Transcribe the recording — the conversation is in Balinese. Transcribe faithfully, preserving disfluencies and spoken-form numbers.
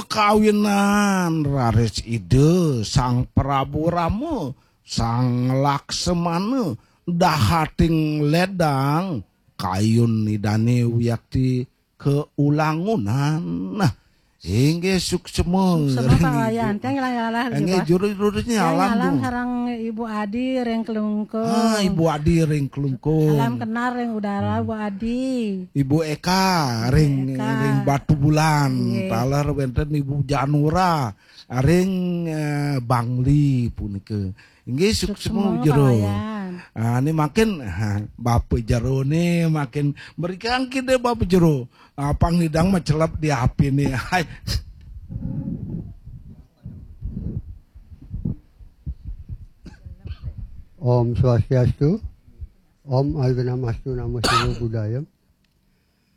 Kawinan raris Ida Sang Prabu Rama, Sang Laksamana, dahating ledang kayun Idane wiakti kaulangunan. Nah, inggih suksma. Suksma, Pak Wayan. Tiang ngilang-alang, inggih, Pak. Juru-juru nyalam, Pak. Ngilang-alang sareng Ibu Adi ring Klungkung. Ah, Ibu Adi ring Klungkung. Salam kenal ring udara, Bu Adi. Ibu Eka ring, Eka. Ring Batubulan. Nggih. Taler wenten Ibu Janura ring, eh, Bangli punika. Inggih, suksma. Suksma, Pak Jero. Wayan. Ah, ini makin, ha, Bapak Jero ni makin berikan kita Bapak Jero. Ah, pang nidang macelep di api ni. Hai. Om Swastiastu. Om Awighnamastu Namo Siwa Buddhaya.